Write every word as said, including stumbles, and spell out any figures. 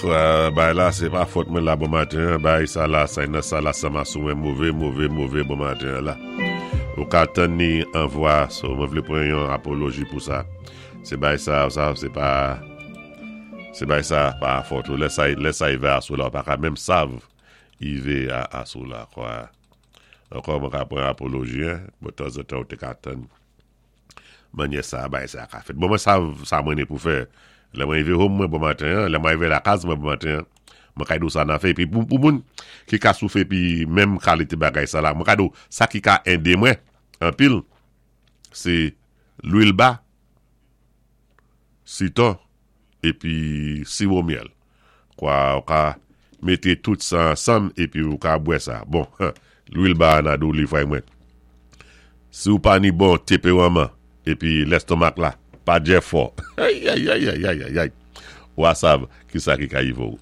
Bay la, sé pa fòt mwen la bon maten. Bay sa la, sa nan sa la, sa ma sou mwen mové, mové, mové bon maten la. Ou ka tann ni an vwa, so mwen vlé pran yon apoloji pou sa. Sé bay sa, sa, sé pa, sé bay sa pa fòt ou. Lè sa, lè sa ivé asou la, ou pa ka menm sav ivé a, asou la, kwa. Ankò mwen ka pran apoloji, hein. Bon, tanzantan ou té ka tann. Manyè sa, bay sa ka fèt. Bon, mwen sav sa mwen ni pou fè. Lè mwen ivé home mwen bon maten, lè mwen ivé lakaz mwen bon maten, mwen ka di ou sa nan fè. Pi pou, pou moun ki ka soufè pi menm kalité bagay sa la, mwen ka di ou sa ki ka édé mwen, anpil, sé lwil ba, sitwon, épi siwo myèl. Kwa ou ka mété tout sa ansanm, épi ou ka bwè sa. Bon, lwil ba nan dou li fwa mwen. Si ou pa ni bon tanperaman, épi lestomak la, pa djè fò. Ay, ay, ay, ay, ay, ay, ay. Ou a sav ki sa ki ka ivé ou.